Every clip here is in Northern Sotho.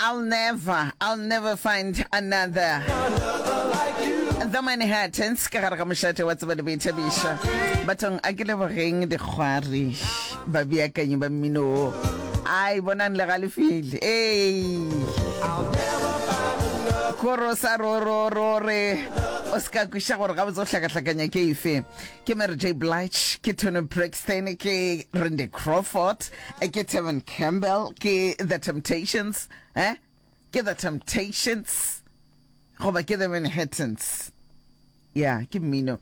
I'll never, I'll never find another. The Manhattans ka gare ga mošate wa tsebo le boithabišo. Bathong a ke lebogeng dikgwari babeakanyi ba mmino wo. Ai bonang le galefile. Ei. Koro sa ro ro ro re o se ka kweša gore gabotse o hlakahlakanya ke efe. Ke Mary J. Blige, ke Toni Braxton, ke Randy Crawford, ke Tevin Campbell, ke The Temptations, eh? Ke The Temptations goba ke The Manhattans. Ya, ke mmino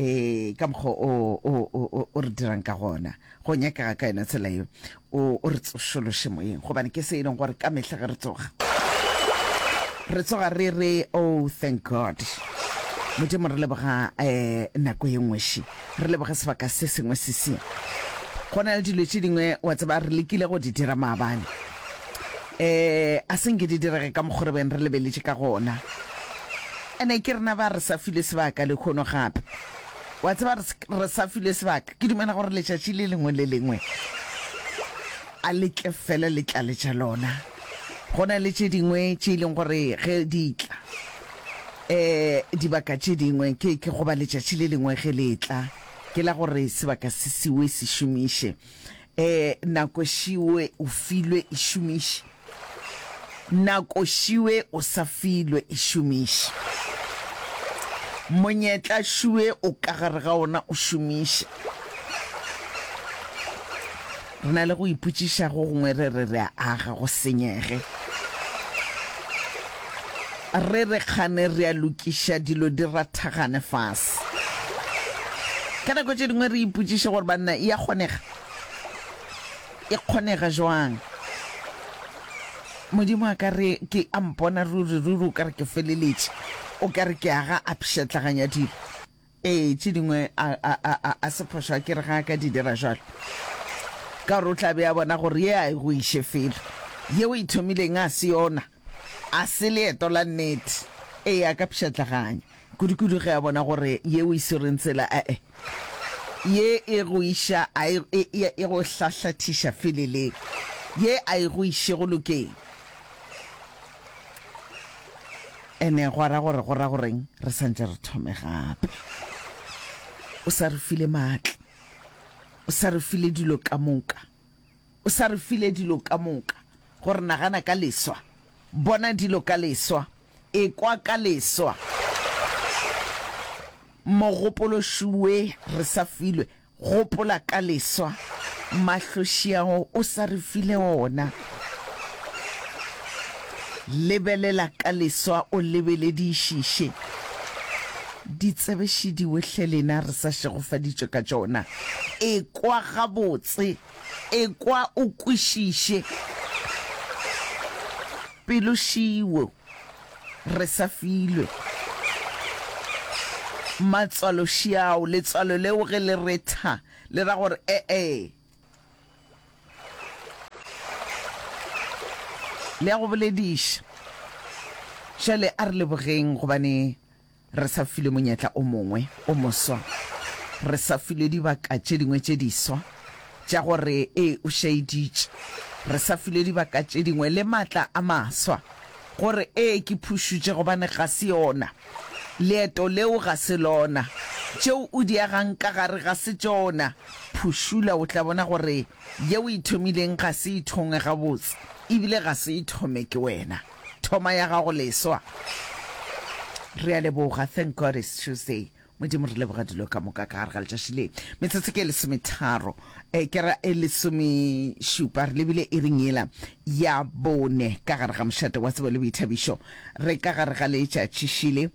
eh ka mokgwa o o o o re dirang ka gona. Go nyakega ka yona tsela yeo o o re tsošološe moyeng gobane ke se e leng gore ka mehla ge re tsoga re tsoga re re oh thank God. Modimo re leboga eh nako ye nngwe še re leboge sebaka se sengwe se se. Go na le dilo tše dingwe wa tseba re lekile go di dira maabane eh a se nke di direge ka mokgo re beng re lebeletše ka gona. Ene ke rena ba re sa filwe sebaka lehono gape. Wa tseba, re, re sa filwe sebaka. Ke dumela gore letšatši le lengwe le lengwe a le tle fela le tlale tša lona. Go na le tše dingwe tše e leng gore ge di tla, um dibaka tše dingwe, ke, ke goba letšatši le lengwe ge le etla, ke la gore sebaka se siwe se šomiše. Um nako šiwe o filwe e šomiše. Nako šiwe o sa filwe e šomiše. Monyetla šiwe o ka gare ga ona o šomiše. Re na le go ipotšiša go gongwe re re re a aga go senyege. Re re kgane re a lokiša dilo di rathagane fase. Ka nako tše dingwe re ipotšiše gore banna e a kgonega? E kgonega jwang? Modimo a ka re ke a mpona ruri ruri o ka re ke feleletše, o ka re ke aga a pšhatlaganya dilo. Ee, tše dingwe a, a, a, a, a se phošo a ke re ga a ka di dira jwalo. Ka gore o tla be a bona gore ye a e go iše felo. Ye o e thomileng a se yona. A se leeto la nnete. Ee, a ka pšhatlaganya. Kudu-kudu ge a bona gore ye o e swereng tsela, e-e, ye e go iša, a e, e, e, e go hlahlathiša feleleng. Ye a e go iše go lokeng. Ene gwa ra gore, go ra goreng re sa ntše re thome gape. O sa re file maatla. O sa re file dilo ka moka. O sa re file dilo ka moka. Gore nagana ka leswa. Bona dilo ka leswa. Ekwa ka leswa. Mogopolo šuwe re sa filwe. Gopola ka leswa. Mahlo šiago o sa re file ona. Lebelela ka leswa o lebeledišiše. Ditsebe šidiwe hle lena re sa šegofaditšwe ka tšona. Ekwa gabotse. Ekwa o kwešiše. Pelo šiwo, re sa filwe. Matswalo šiao, letswalo leo ge le re tha, le ra gore e-e. Le ya go bolediša. Bjale a re lebogeng gobane Re sa filwe monyetla o mongwe o moswa. Re sa filwe dibaka tše dingwe tše diswa tša gore ee o šaeditše. Re sa filwe dibaka tše dingwe le matla a maswa gore ee ke phušutše gobane ga se yona. Leeto leo ga se lona. Tšeo o di agang ka gare ga se tšona. Phušula o tla bona gore ye o e thomileng ga se e thongwe gabotse ebile ga se e thome ke wena. Thoma ya gago leswa. Re a leboga. Thank God it's Tuesday. Modimo re leboga dilo ka moka ka gare ga letšatši le. Metsotso ke e lesometharo, eh, ke ra e lesomešupa, re lebile iring yela ya bone ka gare ga mošate wa tsebo le boithabišo. Re ka gare ga letšatši šile.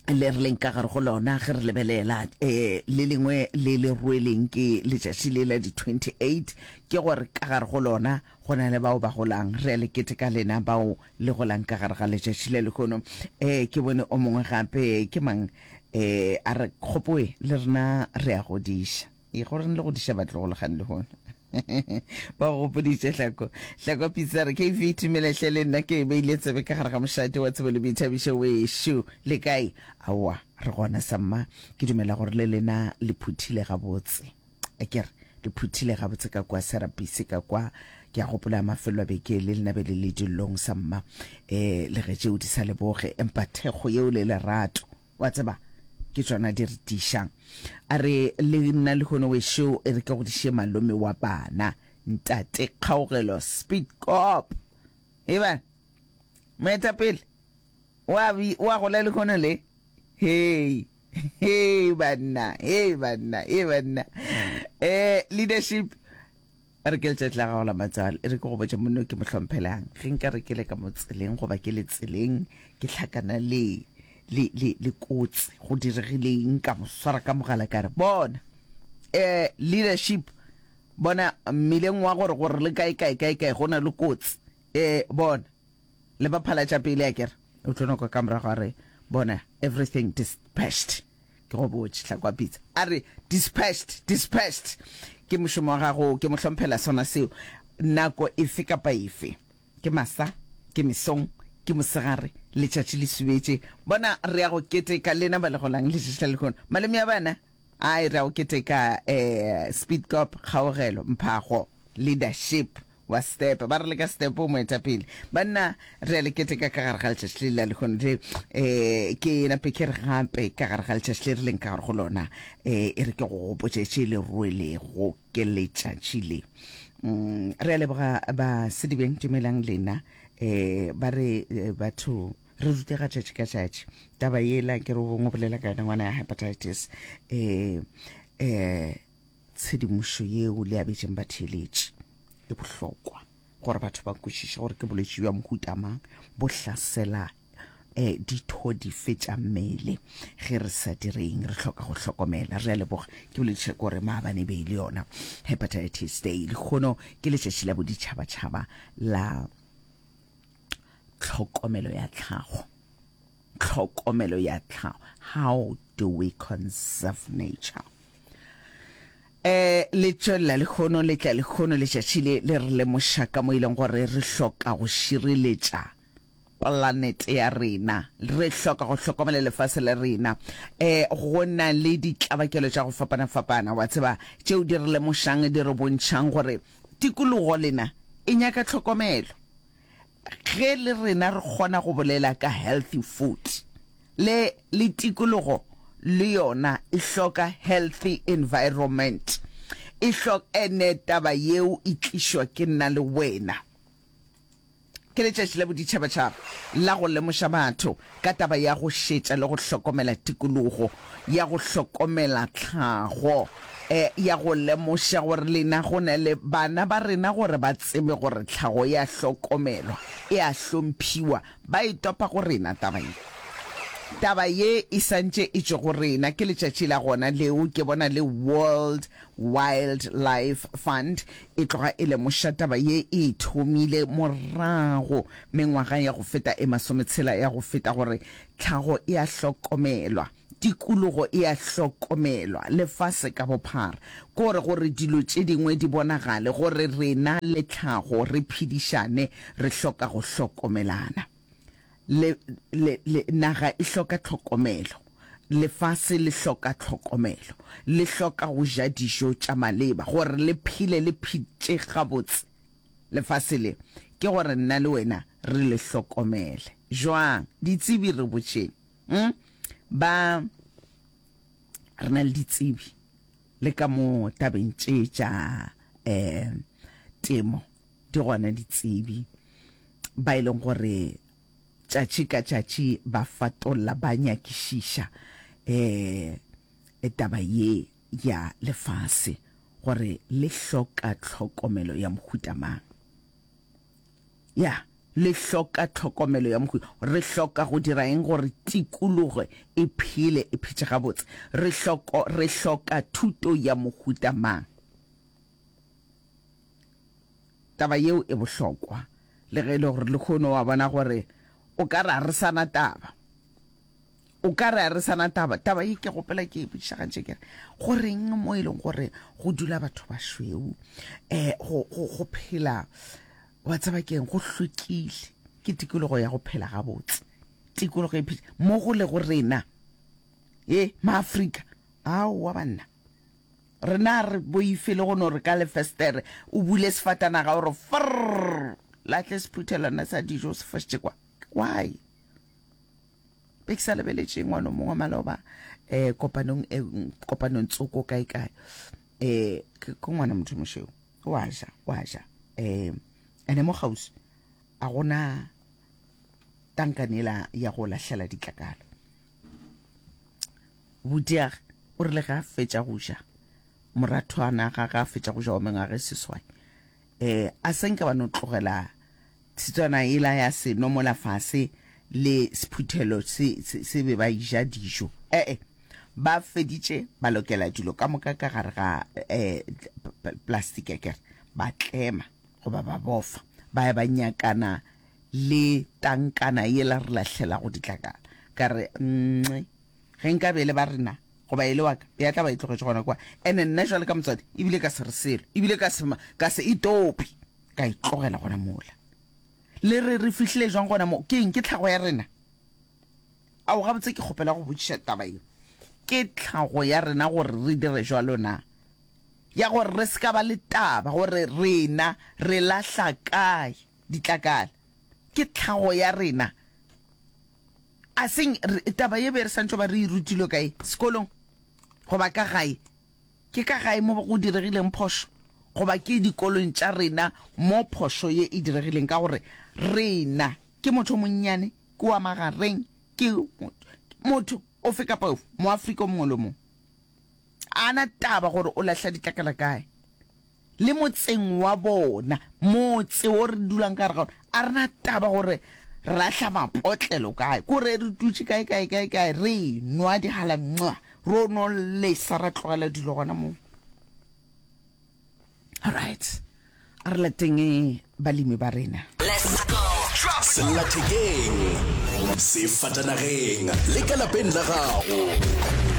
Le re leng ka gare go lona ge re lebelela um le lengwe le le rweleng ke letšatši le la di-28 ke gore ka gare go lona go na le bao ba golang. Re a le keteka lena bao le golang ka gare ga letšatši le lehono. Um ke bone o mongwe gape ke mang um a re kgopoe le rena re a godiša. E go reng le go diša batlogolo gane lehono? Ba go gopoditše Hlako. Hlako Pitsi a re, KV, Tumela hle le nna ke beile tsebe ka gare ga mošate wa tsebo le boithabišo wešo. Le kae? Aowa, re gona samma. Ke dumela gore le lena le phuthile gabotse. Akere le phuthile gabotse ka kwa Serapisi ka kwa. Ke a gopola mafelo a beke le lena be le le dillong sa mma um le ge tšeo di sa leboge empa thekgo yeo le lerato wa tseba ke tšona di re tiišang. A re le nna lehono wešo e re ke godiše malome wa bana ntate Kgaogelo Speed Cop. Eba moetapele wa wa gola lehono le hei hei banna hei banna hei banna eh leadership A re ke letšatši la gago la matswalo, e re ke go botše monna o ke mo hlomphelang. Ge nka re ke le ka mo tseleng goba ke le tseleng ke hlakana le, le, le, le kotsi, go diregile eng, ka mo swara ka mogala ka re, Bona, eh, leadership, bona mmileng wa gore, gore le kae, kae, kae, kae, go na le kotsi. Eh, bona, le ba phala tša pele, akere? O tlo no kwa ka morago a re, Bona, everything dispatched. Ke go botše, Hlakwa Pitsa. A re, Dispatched, dispatched! Ke mošomo wa gago, ke mo hlomphela sona seo. Nako efe kapa efe, ke masa, ke mesong, ke mosegare, letšatši le subetše. Bona, re ya go keteka lena ba le golang letšatši la lehono. Malome ya bana, ai, re ya go keteka, eh, Speed Cop, Kgaogelo, Mphago, Leadership. Wa Step, ba re le ka Step o moetapele. Banna, re a le keteka ka gare ga letšatši le la lehono le. Eh, ke nape ke re gape ka gare ga letšatši le re leng ka gare go lona, eh, e re ke go gopotše tše le rwelego ke letšatši le. Mm, re a leboga ba Sedibeng, dumelang lena. Eh, ba re eh, batho re rutega tšatši ka tšatši. Taba yela ke re o bongwe bolela ka yona ngwana ya hepatitis. Eh, eh, Tshedimošo yeo le abetšeng batheeletši e bohlokwa gore batho ba kwešiše gore ke bolwetši bja mohuta mang, bo hlasela um ditho dife tša mmele. Ge re sa direng re hloka go hlokomela. Re a leboga. Ke bolediša ke gore maabane e be e le yona Hepatitis Day. Lehono ke letšatši la boditšhabatšhaba la tlhokomelo ya tlhago. Tlhokomelo ya tlhago. How do we conserve nature? Eh, le tšwelela lehono, le tla lehono letšatši le, le re lemoša ka mo e leng gore re hloka go šireletša planete ya rena, re hloka go hlokomela lefase la rena. Eh, go na le ditlabakelo tša go fapana-fapana, wa tseba, tšeo di re lemošang, di re bontšhang gore tikologo lena e nyaka tlhokomelo. Ge le rena re kgona go bolela ka healthy food, le, le tikologo le yona e hloka healthy environment. E hlo, ene taba yeo e tlišwa ke nna le wena. Ke letšatši la boditšhabatšhaba la go lemoša batho ka taba ya go šetša le go hlokomela tikologo, ya go hlokomela tlhago, e, ya go lemoša gore lena go na le bana ba rena gore ba tsebe gore tlhago e a hlokomelwa, e a hlomphiwa. Ba e topa go rena taba ye. Taba ye e sa ntše e tšwe go rena. Ke letšatši la gona leo ke bona le World Wildlife Fund e tloga e lemoša taba ye e thomile morago mengwaga ya go feta e masometshela ya go feta gore tlhago e a hlokomelwa, tikologo e a hlokomelwa lefase ka bophara. Ke gore gore dilo tše dingwe di bonagale gore rena le tlhago re phedišane re hloka go hlokomelana. Le, le, le, naga e hloka tlhokomelo. Lefase le hloka tlhokomelo. Le hloka go ja dijo tša maleba, gore le phele le phetše gabotse. Lefase le, ke gore nna le wena re le hlokomele. Jwang? Ditsebi re botšeng. Hm? Ba, re na le ditsebi, le ka mo tabeng tše tša, eh, temo. Di gona ditsebi ba e leng gore tšatši ka tšatši ba fatolla, ba nyakišiša um taba ye ya lefase gore le hloka tlhokomelo ya mohuta mang. Ya, le hloka tlhokomelo ya mohuta. Re hloka go dira eng gore tikologo e phele e phetše gabotse? Re hloko, re hloka thuto ya mohuta mang? Taba yeo e bohlokwa, le ge e le gore lehono wa bona gore o ka re a re sa na taba. O ka re a re sa na taba. Taba ye ke gopela ke e botšiša gantši ke re, go reng mo e leng gore go dula batho ba šweu, um go, go, go phela, wa tseba keng, go hlwekile, ke tikologo ya go phela gabotse, tikologo e phetše mo go lego rena, ye, Maafrika, aowa banna. Rena a re boife le go no re ka lefestere o bule sefatanaga o re frrr, lahle sephuthelwana sa dijo o se fošitše kwa. Why? Be ke sa lebeletše ngwana o mongwe maloba um kopanong e kopanong tsoko kae kae um ke ngwana motho mošweu wa ja wa ja um ene mo kgauswi a gona tankane ela ya go lahlela ditlakala. Butiage o rile ge a fetša go ja, morathwana ga ge a fetša go ja wa mengwaga e seswai, um a se nke ba no tlogela tshitswana yela ya seno mola fase le sephuthelo se, se, se be ba ja dijo. Ee, ba feditše ba lokela dilo ka moka ka gare ga um plastiki akere, ba tlema goba ba bofa, ba ya ba nyakana le tankana yela re lahlelago ditlakala. Ka re, Nxe, ge nka be e le ba rena, goba e le wa ka, ya tla ba e tlogetše gona kwa. Ene nna jwale ka motswadi, ebile ka se re selo, ebile ka se, ka se e tope, ka e tlogela gona mola. Le re re fihlile jwang gona mo? Ke eng? Ke tlhago ya rena? Ao, gabotse ke kgopela go botšiša taba ye. Ke tlhago ya rena gore re dire jwalo na? Ya gore re se ka ba le taba gore rena re lahla kae? Ditlakala. Ke tlhago ya rena. A seng taba ye be re santšo ba re e rutilwe kae? Sekolong goba ka gae? Ke ka gae mo go diregileng phošo goba ke dikolong tša rena mo phošo ye e diregileng? Ka gore rena ke motho o monnyane, ke wa magareng, ke motho ofe kapa ofe, Moafrika o mongwe le o mongwe. A na taba gore o lahla ditlakala kae. Le motseng wa bona, motse wo re dulang ka gare ga ona, a re na taba gore re lahla mapotlelo kae, ko re re dutše kae, kae, kae, kae, re nwa dihala, mwa, ro no lesa ra tlogela dilo gona moo. Alright, a re lateng balemi ba rena. Sellathekeng, sefatanageng le ka lapeng la gago.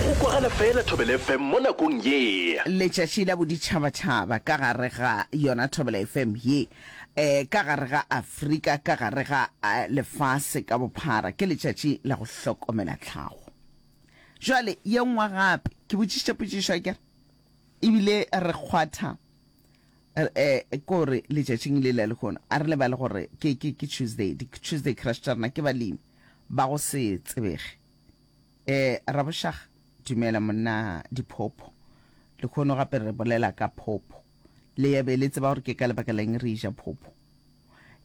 Go kwagala fela Thobela FM mo nakong ye. Letšatši la boditšhabatšhaba ka gare ga yona Thobela FM ye, eh, ka gare ga Afrika, ka gare ga lefase ka bophara, ke letšatši la go hlokomela tlhago. Jwale, ye nngwe gape, ke botšišitše potšišo, akere? Ebile re kgwatha Eh, ke gore letšatšing le la lehono a re lebale gore ke, ke, ke Tuesday, di Tuesday crush tša rena ke balemi ba go se tsebege. Eh, Rabošaga, dumela monna diphopho. Lehono gape re bolela ka phopho. Le ya be le tseba gore ke ka lebaka la eng re ja phopho.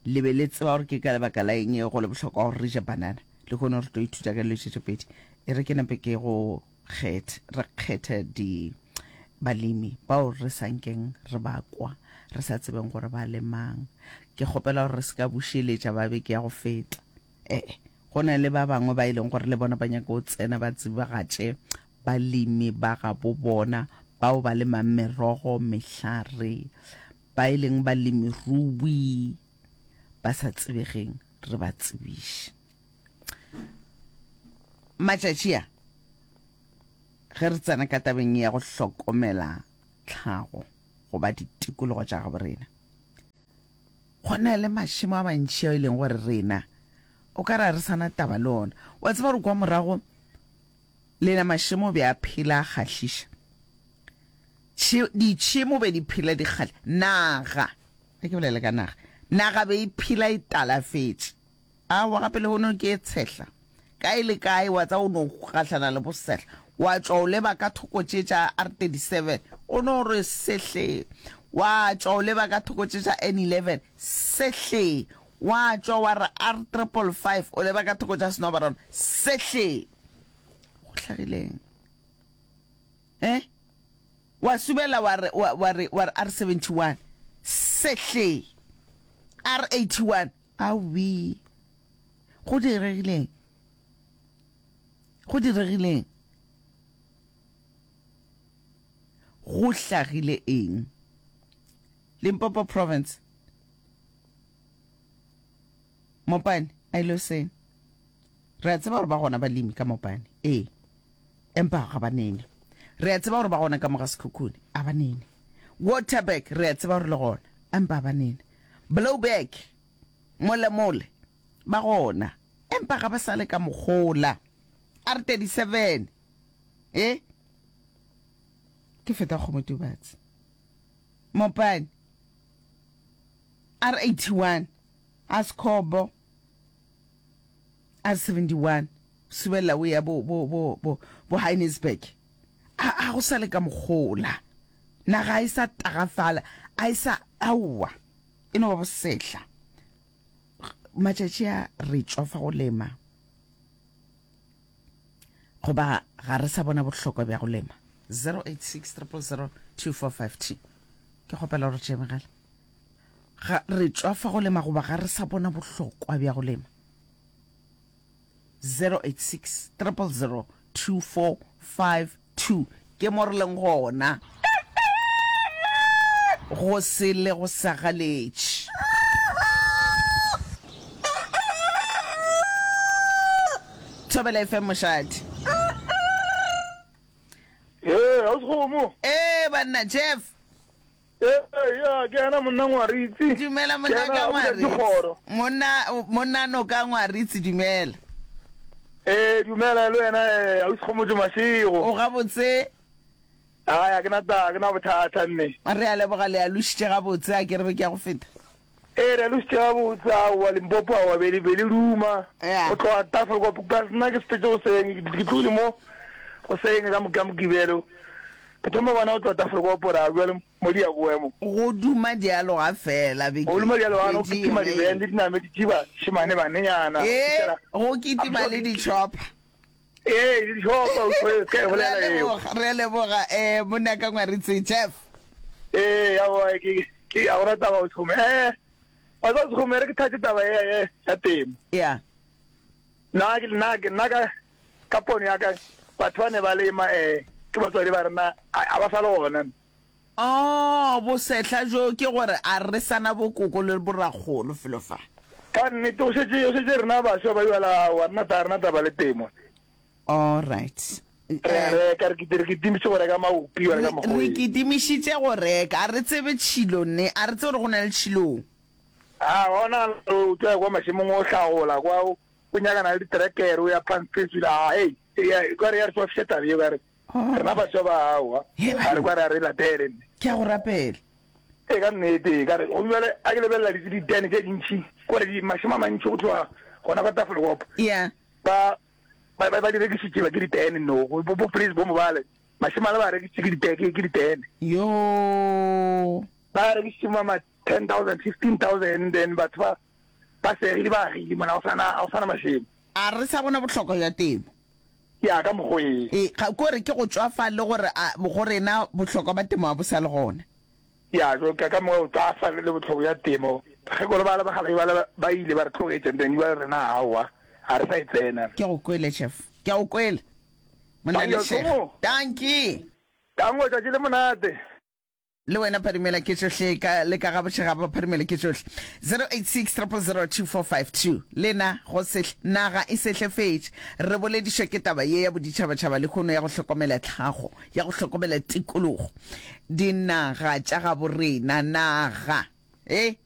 Le be le tseba gore ke ka lebaka la eng go le bohlokwa gore re je banana. Lehono re tlo ithuta ka dilo tše tše pedi. E re ke nape ke go kgethe, re kgethe di balemi bao re sa nkeng re ba kwa, re sa tsebeng gore ba lemang. Ke kgopela gore re se ka bušeletša ba beke ya go feta. Ee, go na le ba bangwe ba e leng gore le bona ba nyaka go tsena ba tsebagatše balemi ba gabo bona bao ba lemang merogo, mehlare, ba e leng balemirui ba sa tsebegeng, re ba tsebiše. Matšatši a, ge re tsena ka tabeng ya go hlokomela tlhago goba ditikologo tša gabo rena, go na le mašemo a mantši ao e leng gore rena o ka re a re sa na taba le ona. Wa tseba gore kwa morago lena mašemo be a phela a kgahliša. Ditšhemo be di phela di kgahliša. Naga, ge ke bolela ka naga, naga be e phela e talafetše. Aowa, gape lehono ke e tshehla. Kae le kae wa tsa o no gahlana le bosehla. Wa tšwa o leba ka thoko tše tša R37, o no re sehle. Wa tšwa o leba ka thoko tše tša N11, sehle. Wa tšwa wa re R555, o leba ka thoko tša Snobaron, sehle. Go hlagileng? Eh? Wa subela wa re, wa, wa re, wa re R71, sehle. R81, Aowii! Go diregileng? Go diregileng? Go hlagile eng? Limpopo Province. Mopane, a ile seng. Re a tseba gore ba gona balemi ka Mopane. Ee. Empa ga ba nene. Re a tseba gore ba gona ka mo ga Sekhukhune. A ba nene. Waterberg, re a tseba gore le gona. Empa a ba nene. Blouberg, mole mole, ba gona, empa ga ba sa le ka mokgola. R37, e? Ke feta Kgomotubatse. Mopane. R81. Askhobo. R71. Subelela o ya bo bo bo bo bo Heinisberg. A a go sa le ka mokgola. Naga a e sa tagafala, a e sa aowa. E no ba bosehla. Matšatši a re tšwafa go lema. Goba ga re sa bona bohlokwa bja go lema. 086 000 2452. Ke kgopela gore tšee mogala. Ga re tšwafa go lema goba ga re sa bona bohlokwa bja go lema. 086 000 2452 ke mo re leng gona. Go se le go sa galetše. Thobela FM mošate. Ee, ga o sekgomo. Ee, banna Jeff. Ee, ya, ke yena monna Ngwaritsi. Dumela monna ka Ngwaritsi. Monna, monna no ka Ngwaritsi, dumela. Ee, dumela le wena, eh, ausi Kgomotso Mashego. O gabotse? Ai, a ke na taba, ke na bothata mme. Re a leboga, le alošitše gabotse, a ke re beke ya go feta. Ee, re alositše gabotse, aowa, Limpopo, aowa, be le, be le duma. Yeah. Go tloga Tafelkop, plus nna ke sepetse goseng, ke, ke tlogile mo goseng ka, ka Mokibelo. Ke thoma bona go tloga Tafelkop, ra bjale mo di ya boemo. Go duma dialoga fela beke. Go duma dialoga, go kitima dibene le diname di tšiba šemane banenyana. Ee, go kitima le di-chopper. Ee, le di-chopper, o se ka e bolela eo. Re a leboga, eh, monna ka Ngwaritse, Jeff. Ee, aowa, ke, ke, a gona taba o thome. Eh, wa tseba Sekgome, re ke thatše taba ye, ya temo. Yeah. Nna, ke, nna, ke, nna ka, ka pono ya ka, batho ba ne ba lema, eh, ke batswadi ba rena, a, a ba sa le gona. Oh, bosehla bjo ke gore a re sa na bokoko le borakgolo felo fa. Ka nnete, o šetše, o šetše rena baswa ba bjala, aowa, rena ta, rena taba le temo. All right. Re a reka, re kiti, re kitimišitše go reka maopi, wa reka Re, re mokgweng. kitimišitše go reka, a re tsebe tšhilo ne, a re tsebe gore go na le tšhilong. A gona o tla ya kwa mašemong o hlagola kwa, o, o nyakana le ditrekere, o ya phansi phezulu, a, hei, ya, e ka re ya re tšwafiša taba ye, ka re, Rena baswa ba aowa, ga re kwa re a re latele nne. Ke a go rapela. Ee, ka nnete, ka re, gomme bjale a ke lebelela di, ditene tše dintši, kore di, mašemo a mantši go tloga gona kwa Tafelkop. Yeah. Ba, ba, ba, ba di rekišitše ba ke ditene, no, bo, bo Praise bo Mobale, mašemo ale ba a rekišitše ke dite, ke, ke ditene. Yoo. Ba a rekišitše ma, ma 10,000, 15,000, then batho ba, ba segile, ba agile mona, ga go sa na, ga go sa na mašemo. A re sa bona bohlokwa bja temo. Ya ka mokgwa e. E, ga ko re ke go tšwafa le gore a, go rena bohlokwa ba temo ga bo sa le gona. Ya, jo, ka, ka mokgwa go tšwafa le bohlokwa bja temo. Ge kore bale bakgalabje bale ba ile ba re tlogetše, then jwale rena aowa, ga re sa e tsena. Ke go kwele, Chef. Ke a go kwele. Monna Lešega. Dankie. Danko, tšatši le monate. Le wena phadimela ke tšohle ka le ka gabošega ba phadimele ke tšohle. 086 000 2452 Lena go sehle naga e sehlefetše. Re boledišwa ke taba ye ya boditšhabatšhaba lehono ya go hlokomela tlhago, ya go hlokomela tikologo. Dinaga tša gabo rena, naga e.